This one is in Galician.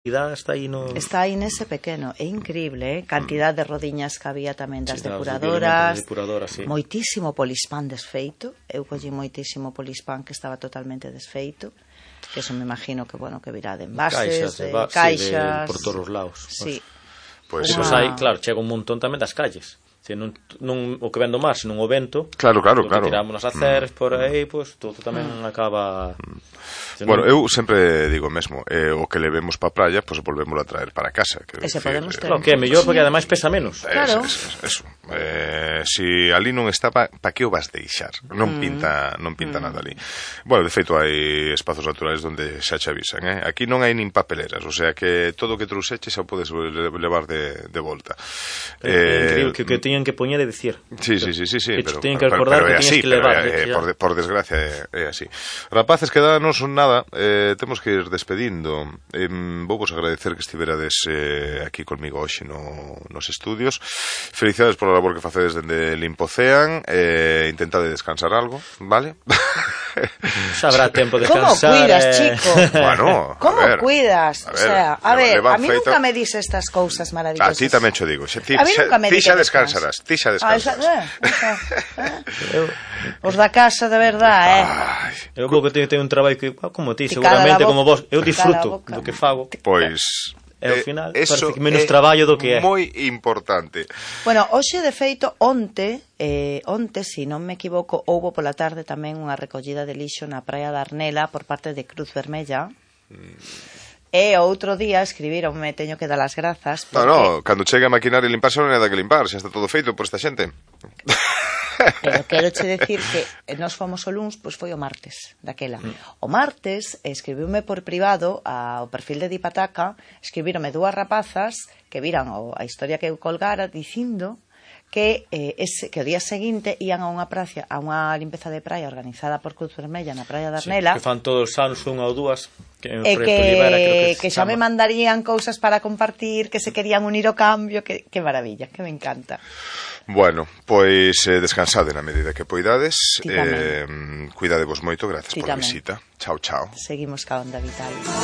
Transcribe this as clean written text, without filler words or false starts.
Está aí nese pequeno, é increíble, cantidad de rodiñas que había tamén das depuradoras, moitísimo polispán desfeito, eu collí moitísimo polispán que estaba totalmente desfeito, que eso me imagino que, bueno, que virá de envases, de caixas, por todos os lados. Sí. Pois aí, claro, chega un montón tamén das calles. Non o que vendo máis, non o vento. Claro. Tiramos nas aceras por aí, pois todo tamén acaba. Bueno, eu sempre digo mesmo, o que levemos para a praia, pois volvémoslo a traer para casa. Ese podemos ter. Claro, que é mellor porque ademais pesa menos. Claro. Eso. Si ali non estaba, para que o vas deixar? Non pinta nada ali. Bueno, de feito hai espazos naturais onde xa che avisan, Aquí non hai nin papeleras, o sea que todo o que trouxeche xa podes levar de volta. É increíble que tiñan que poñer e dicir. Sí, pero tiñen que recordar que tiñes que levar. Por desgracia é así. Rapaces, quedanos nada, temos que ir despedindo. Vou vos agradecer que estiverades aquí conmigo hoxe nos estudios. Felicidades pola labor que facedes dende Limpocean. Intentade descansar algo, vale? Xa habrá tempo de descansar. Como cuidas, chico? Bueno, como cuidas? O sea, a ver, a mí feito... nunca me dices estas cousas maravillosas. A ti tamén cho digo. A mí nunca me dices. Ti xa descansarás. Os da casa, de verdade, Eu vou que teño un traballo que, como ti, seguramente, como vos, eu disfruto do que fago. Pois... E ao final, parece que menos traballo do que é. Moi importante. Bueno, hoxe, de feito, onte, se non me equivoco, houbo pola tarde tamén unha recollida de lixo na praia da Arnela por parte de Cruz Vermella. E outro día escribironme, teño que dar as grazas porque... No, cando chegue a maquinar e limpar xa non hai nada que limpar, xa está todo feito por esta xente. Pero quero che decir que nós fomos o luns, pois foi o martes daquela. O martes escribiume por privado ao perfil de Dipataca, escribíronme dúas rapazas que viran a historia que eu colgara dicindo que o día seguinte ian a unha praia, a unha limpeza de praia organizada por Cruz Vermella na praia da Arnela, que fan todos os anos unha ou dúas, e que xa me mandarían cousas para compartir, que se querían unir ao cambio, que maravilla, que me encanta. Bueno, pois descansade na medida que poidades, cuidadevos moito, gracias por a visita. Chao. Seguimos ca Onda Vital.